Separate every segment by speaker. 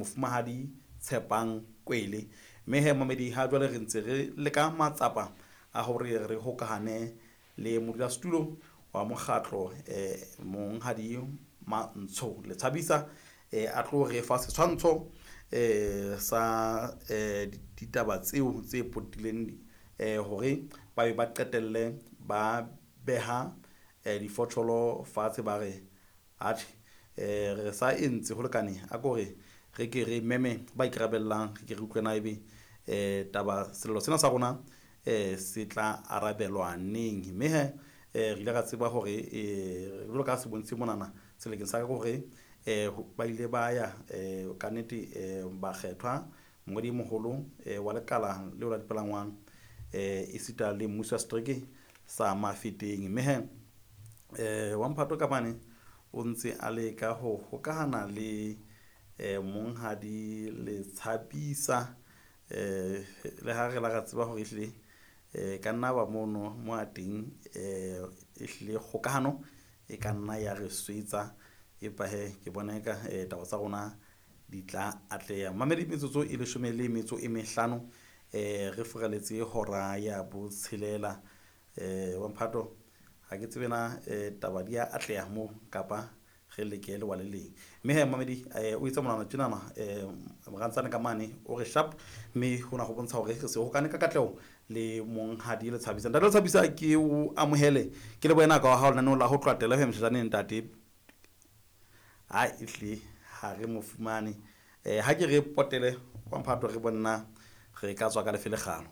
Speaker 1: Mofumahadi Tshepang Kwele. Mme he mamedi, ha jwale re ntse re leka matsapa a hore re hokahane le modulasetulo wa mokgatlo, Monghadi Mantsho Letshabisa, a tlo re fa setshwantsho sa ditaba tseo tse potileng, hore ba be ba qetelle ba beha difotjholo fatshe, ba re atjhe, re sa entse ho lekane, a ko re re ke re meme ba ikarabellang, re ke re utlwe na ebe taba sello sena sa rona se tla arabelwa neng. Mme he, re ile ra tseba hore, jwalo ka se bontshitse monana selekeng sa ka, hore ba ile ba ya, kannete, bakgethwa mongodi e moholo wa lekala leo la dipalangwang, esita le mmuso wa setereke sa Mafeteng. Mme he, wa mphato ka mane o ntse a leka ho hokahana le Monghadi Letshabisa, le ha re la ra tseba hore ehlile ka nna ba mono mo a teng, ehlile kgokahano e ka nna ya re swetsa, empa he ke bona eka taba tsa rona di tla atleha. Mamedi, metsotso e 15 re furaletse hora ya botshelela. Wa mphato, ha ke tsebe na taba di ya atleha moo kapa re leke lewa le leng. Mme he mamedi, o etsa monwana tjenana, morantsane ka mane o re sharp, mme hona ho bontsha hore re se hokane ka katleho le Monghadi Letshabisa. Ntate Letshabisa, ke o amohele, ke le boena ka wa hao lenaneong la ho tloha ho moshajaneng ntate. Ha ehlile ha re mo fumane, ha ke re potele wa mphato, re bonna re ka tswa ka lefe lekgalo.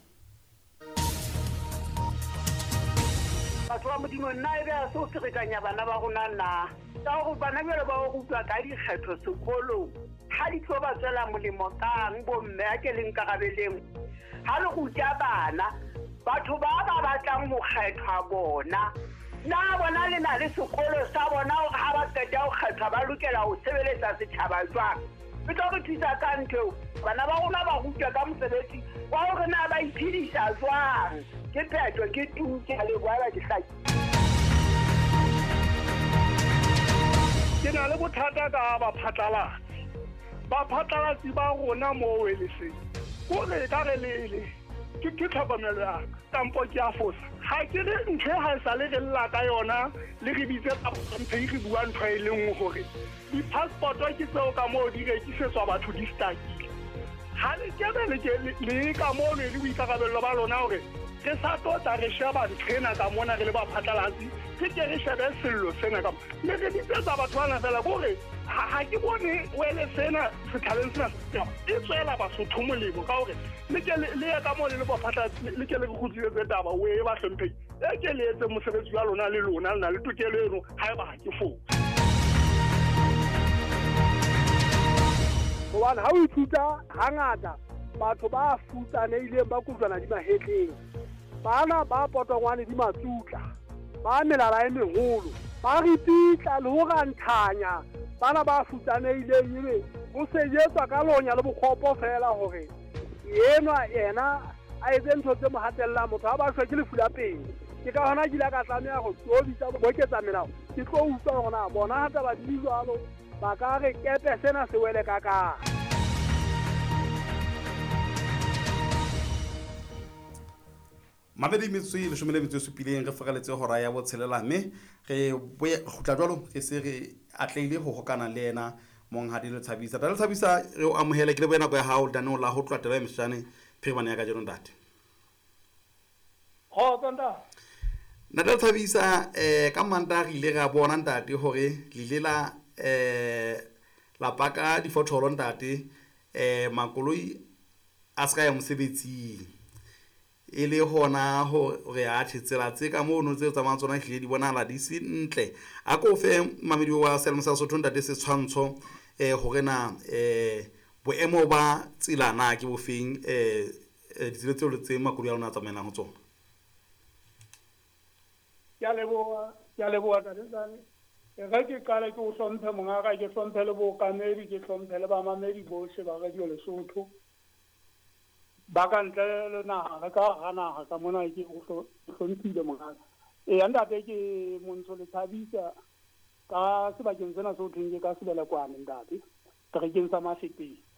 Speaker 2: Batho ba Modimo, nna ebe a se o ferekanya bana ba rona na? Ka hore bana jwale ba o rutwa ka dikgetho sekolong, ha di tlo ba tswela molemo kang bomme? A ke le nkarabeleng. Ha le ruta bana, batho ba ba batlang ho kgethwa bona, na bona le na le sekolo sa bona hore ha ba qeta ho kgethwa ba lokela ho sebeletsa setjhaba jwang? E tlo re thusa ka ntho eo. Bana ba rona ba rutwa ka mosebetsi wa hore na ba iphedisa jwang. Ke phetho, ke tu, ke a leboha, ba ke hlaki.
Speaker 3: Ke na le bothata ka baphatlalatsi. Baphatlalatsi ba rona moo e leseng, kore ka re lele ke tlhokomelo ya ka, kampo ke a fosa. Ha ke re ntho e ha e sale re lla ka yona, le re bitse mphe re bua ntho e le nngwe hore di-passport ke tseo ka moo di rekisetswa batho di stakile. Ha le kebe le ke le ka moo le boikarabello ba lona hore re sa tlo tla re sheba ntho ena ka mona re le baphatlalatsi, re ke re shebe sello sena ka mo. Le re bitsetsa batho bana fela kore ha ke bone wele sena sethaleng sena e tswela Basotho molemo, ka hore le ke le ye ka moo le le baphatlalatsi, le ke le re kgutlisetse taba o e ba hlomphehi. E ke le etse mosebetsi wa lona, le lona le na le tokelo eno haeba ha ke fose.
Speaker 4: Hobane ha o ithuta hangata batho ba futsanehileng ba kojwana di mahetleng, bana ba potongwane di matsutla, ba melala e meholo, ba ripitla le ho ranthanya bana ba futsanehileng, ebe ho sejetswa ka lonya le bokgopo fela hore enwa yena a etse ntho tse mo hatellang. Motho ha ba shwe ke lefu la pele. Ke ka hona ke ile ka tlameha ho tlo bitsa boketsa melao, ke tlo utlwa hore na bona ha taba di jwalo ba ka re kepe sena se wele ka kang.
Speaker 1: Mabedi metsotso e 17 re feraletse hora ya botshelela, mme re kgutla jwalo re se re atlehile ho hokana le yena Monghadi Letshabisa. Ntate Letshabisa, re o amohele, ke lebohe nako ya hao lenaneong la ho tloha taba e meshane phirimana ya kajeno ntate.
Speaker 3: Kgotso ntate.
Speaker 1: Ntate Letshabisa, ka Mantaha re ile ra bona ntate hore le ile la paka difotholo ntate, makoloi a se ka ya mosebetsing, e le hona hore atjhe tsela tse ka mono tse tsamayang tsona ehlile di bonahala di se ntle. A ko fe mamedi wa Selemo sa Sesotho ntate setshwantsho, hore na boemo ba tsela na ke bofeng, ditsela tseo le tse makoloi a lona a tsamaelang ho tsona.
Speaker 3: Ke a leboha, ke a leboha ntate Tsane. E re ke qale ke o hlomphe mongaka, ke hlomphe le bookamedi, ke hlomphe le bamamedi bohle ba Radio Lesotho. Ba ka ntle le naha, re ka hara naha ka mona ke o hlomphile mongaka. Eya ntate, ke Montsho Letshabisa ka sebakeng sena se ho thweng ke ka Sebelekwane ntate, seterekeng sa Mafeteng.